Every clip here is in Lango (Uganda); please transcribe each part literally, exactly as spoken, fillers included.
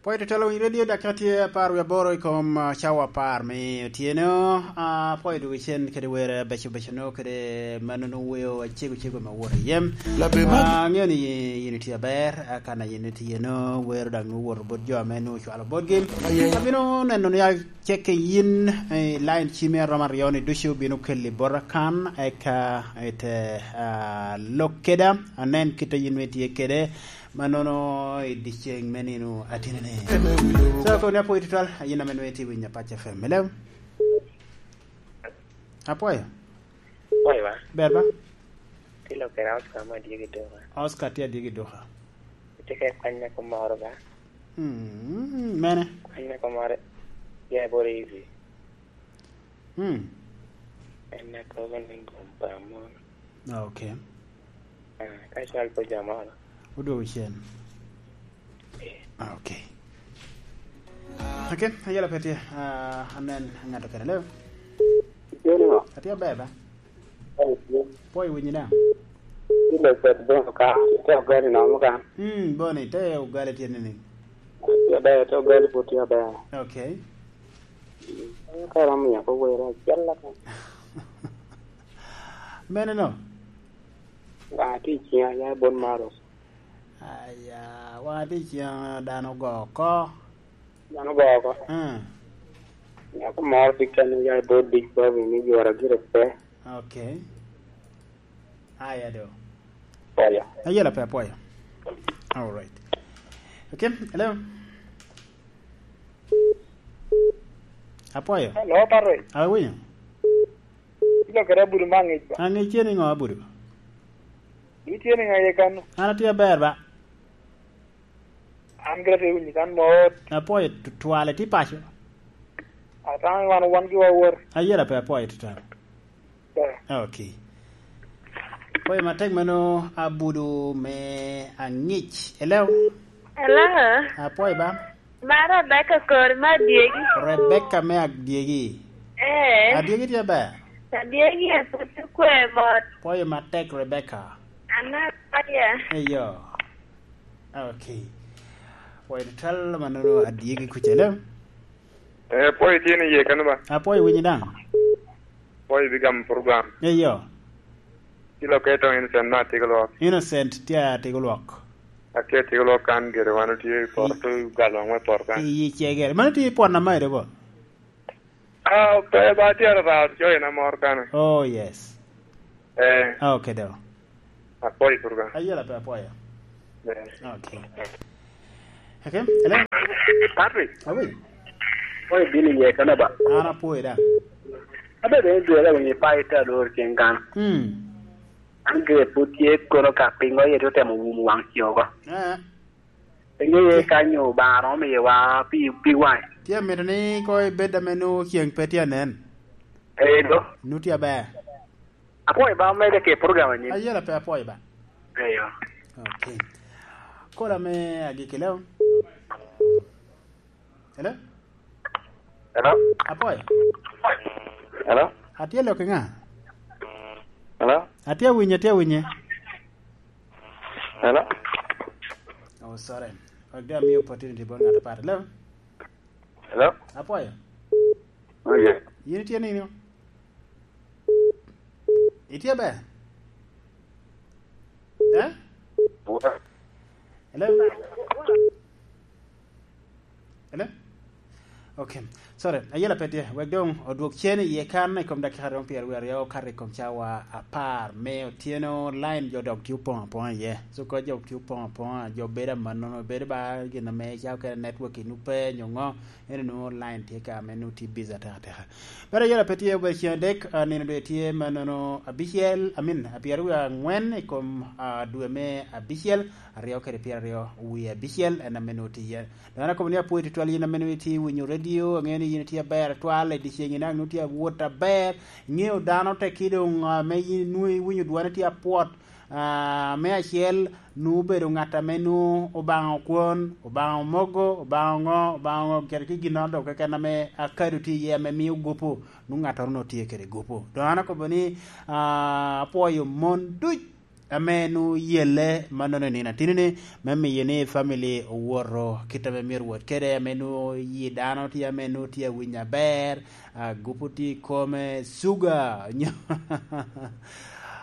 Apwoyo tutwal, owiny redio dakika tye apar wie aboro i kom, ah, cawa apar me otyeno. Ah, apwoyo dwogo cen kede wer beco beco no kede mano no weo acego cego me wot i yem. Ah, ang'eyo ni yin itye aber, ah, kan a yin itye no wero dok nwoŋo woto bot jo ame nwoŋo ocwalo botgi. Abino neno ni aceke yin, eh, line cimi aromo aryo ni ducu bino keli bota kan, eka ite, ah, lok keda, anen kit a yin nwoŋo itye kede. Mannono i dyeceŋ me nino atinini. So, koni apwoyo tutwal, yin ame nwoŋo itye winyo Apac F M. Hello? Apwoyo. Apwoyo ba? Ber ba? Tye lokere Oscar ma adyegi duka. Oscar tye adyegi duka. Itye ka kwanya kumoro ba? Hmm, mene? Kwanya kumoro. Ya, bore easy. Hmm. En akobo ni gum pa mon. Ah, ok. Ah, ka cwal pe jamo no. Odwogo cen. Eh. Ah, ok. Ok, ayela pe tye. Ah, anen ŋato kene leo. Itye ni ŋo? Atye aber ba? Itye. Pwoyo winyi daŋ. Itye locet bono ka, itye ogali nomo ka. Hmm, boni, te ogali tye nini? Tye aber, te ogali pwod tye aber. Ok. Ka romo nyako were acel aka. Mene no? Waŋ atye i ciŋa, ya bot maro. Aya, waŋ atye i ciŋa dano ogo oko. Dano ogo oko. Hmm. Nyako moro tye kene, ya bot big baby ni jwara gire pe. Ok. Aya do. Apwoyo. Ayela pe apwoyo. All right. Okay, hello. Apwoyo. Hello, Patrick. Awinyo. Ilo kede abudu ma aŋic ba. Aŋic tye ni ŋo abudu? Itye ni ŋa ye kano? An atye aber ba. An gire tye winyi kan mot. Apwoyo tutwal, itye paco? Atamo wan, wan gi wawor. Ayela pe apwoyo tutwal. Eh. Ok. Pwoyo matek mano abudu me aŋic. Hello? Hello? Apwoyo ba? Ma Rebecca kori me adyegi. Rebecca me adyegi. Eh. Adyegi tye ber? Adyegi en pwod tye kwe mot. Pwoyo matek, Rebecca. Ana pwoya. Eyo. Ok. Pwoyo tutwal mano adyegi kucele. Eh, pwoyo tye ni ye kano ba? Apwoyo winyi daŋ. Pwoyo bi gamo program. Eyo. Kilo keto Innocent me Atigolwok. Innocent tye Atigolwok. Atye Atigolwok kan gire, wan otye i poto, galo ŋwe poto kan. I cegere. Mano tye i pwon amairo bo? Ah, pe ba tye arara, coyo na mor kan. Oh, yes. Eh. Ah, ok, do. Apwoyo purga. Ayela pe apwoyo. Eh. Ok. Ok, hello? Patrick. Awi. Apwoyo bino iye kano ba? An apwoyo da. Abe bene dwe la winyo pa ita lor ceng kan. Hmm. An gire pwod tye kono ka pingo ye to temo wumo waŋ ci oko. Eh. Inge ye ka nyo Obaŋa romo miyowa pi, pi waŋ. Tye amito ni ko ibed ame nwoŋo ceng pe tye anen. Eh, do. Nu tye aber. Apwoyo ba omede ke program anyim. Ayela pe apwoyo ba. Eyo. Ok. Kola me agikki leo. Hello? Hello? Apwoyo. Hello? Atye lok i ŋa? Hello? Atye awinye, atye awinye. Hello? Oh, sorry. Wek dong amiyo opportunity bot ngat apat. Hello? Hello? Apwoyo. Oh, yeah. Yin itye nino? Itye ber? Eh? Hello? Hello? Ok. Sorry, ayela pe tye. Wek dong odwok cen iye kan i kom dakika romo pyeraryo aryo okato i kom cawa apar me otyeno. Line jo dok tye opoŋ apoŋa iye. So, ka jo tye opoŋ apoŋa, jo bedo amannono, bedo ba gin ame calo kede network i nube nyo ŋo, ene nwoŋo line tye ka ame nwoŋo tye busy ateka ateka. Bene ayela pe tye obedo ceng adek, ah, nino doŋ tye mannono abicel, I mean, pyeraryo wie aŋwen i kom, ah, dwe me abicel, aryo kede pyeraryo wie abicel, en ame nwoŋo tye iye. Dano akobo ni apwoyo tutwal yin ame nwoŋo itye winyo redio, aŋeo ni yin itye aber atwal, i dyeceŋ ina nwoŋo tye awot aber, iŋeo dano teki doŋ, ah, ame yin nwoŋo iwinyo dwane tye apwot, ah, me acel, nwoŋo obedo ŋat ame nwoŋo Obaŋa okwon, Obaŋa omogo, Obaŋa oŋo, Obaŋa oŋo, kede ki ginnoro doŋ keken ame akado tye iye ame mio gupu, nwoŋo ŋattoro nwoŋo tye kede gupu. Doŋ an akobo ni, ah, apwoyo mon duc ame nu yelle mannono i nino atinini, me miyo ni family owoto kit ame myero wot kede, ame nu yi dano tye ame nu tye awiny aber, agupu tye i kome, suga, nyo,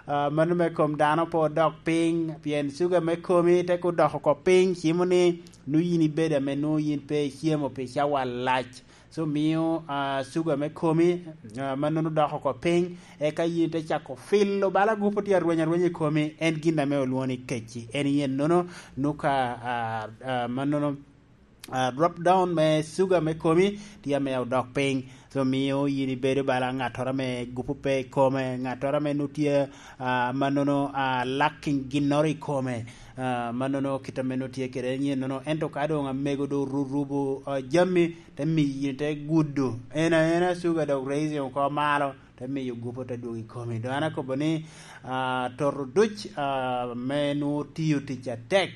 ah, mano me kom dano pe odok piny, pien suga me komi te ka odoko oko piny, cimo ni nu yin ibedo ame nu yin pe icemo pi cawa lac. So, mio, ah, suga me komi, ah, mannono doko oko piny, eka yin te cako filo bala agupu tye arweny arweny i komi, en gin ame olwoŋo ni kecci. En yen nono, nu ka, ah, ah, mannono, ah, drop down me suga me komi tye ame odok piny. So, mio yin ibedo bala ŋattoro ame gupu pe i kome, ŋattoro ame nu tye, ah, mannono, ah, lacking ginnoro i kome, ah, mannono kit ame nu tye kede en yen nono. Ento ka doŋ amego doŋ orurubo, ah, jami, te miyo yin te gudo en aena suga dok raising oko malo, te miyo gupu te dwogo i komi. Doŋ an akobo ni, ah, toto duc, ah, me nwoŋo tiyo tic atek,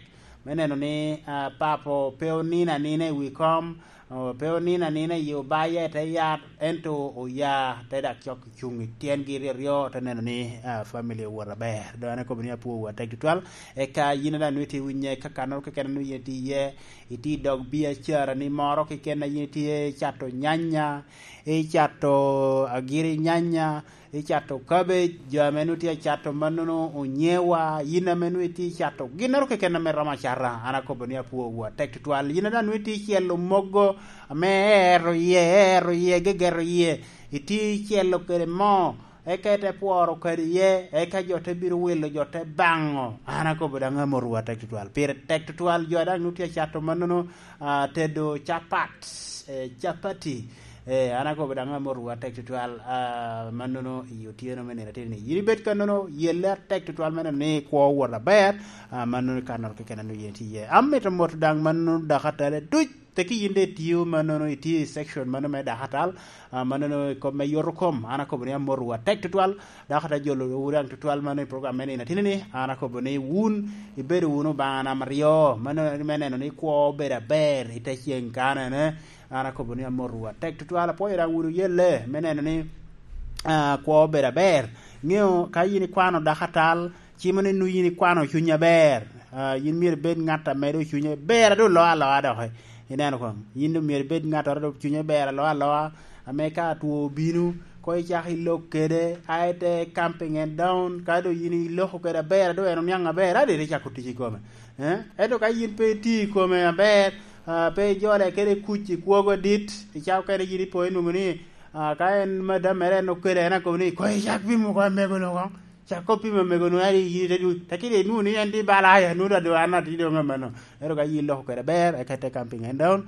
me neno ni, ah, papo pe onino anina i wi kom, oh, pe onino anina i obaye te yat, ento oya te dak cok cuŋ i tyengi ryo ryo, te neno ni, ah, family owot aber. Doŋ an akobo ni apwowu atek tutwal. Eka yin daŋ nwoŋo itye winye ka kannoro keken nwoŋo yin itye iye, itye i dog biacara ni moro keken a yin itye icato nyanya, icato agiri nyanya, icato cabbage, jo ame nwoŋo tye acato mannono onyewa, yin ame nwoŋo itye icato ginnoro keken ame romo acata, an akobo ni apwowu atek tutwal. Yin daŋ nwoŋo itye icelo mogo ame eero iye, eero iye, gegeto iye, itye icelo kede moo, eka ite pworo kadi iye, eka jo te bino wilo, jo te baŋo. An akobo daŋ amotwu atek tutwal. Pire tek tutwal, jo a daŋ nwoŋo tye acato mannono, ah, tedo capat, eh, capati. Eh, an akobo daŋ amotwu atek tutwal, ah, mannono i otyeno me nino atinni. Yin ibed kannono, yelle atek tutwal me neno ni kwo owot aber, ah, mannono i kannoro keken a nwoŋo yin itye iye. Amito moto daŋ mannono dakatale duc. Tekki yin daŋ itio mannono, itio i section mano me dakatal, ah, mannono i kop me yoto kom, an akobo ni amotwu atek tutwal, dakatal jolo wu daŋ tutwal mano i program me nino atinni, an akobo ni wun ibedo wunu obaŋa namba aryo, mano me neno ni kwo obedo aber i te ceng kanene, an akobo ni amotwu atek tutwal, apwoyo daŋ wunu yelle me neno ni, ah, kwo obedo aber. Ŋeo ka yin ikwano dakatal, cimo ni nwoŋo yin ikwano cuny aber. Ah, yin myero ibed ŋat a medo cuny aber, adu olo aloa doki. Ineno koŋ, yin doŋ myero ibed ŋattoro doŋ cunye ber aloa aloa, ame ka two obino, koŋ icak ilok kede, a ite camping and down, ka doŋ yin iloko kede aber, a doŋ en oniaŋ aber, a doŋ ite cako tic i kome. Eh? Ento ka yin pe itio i kome aber, ah, pe ijole kede kuc i kwogo adit, i cawa okene yin ipo inwoŋo ni, ah, ka en madam mere en okele, en akobo ni, "Koŋ icak pimo oko amego-nu koŋ." Cak kop pimo amego-nu, ari yin ite dwogo. Tekki doŋ inwoŋo ni en tye bala, aya, nwoŋo doŋ an atye doŋ amanno. Ento ka yin iloko kede aber, eka ite camping and down,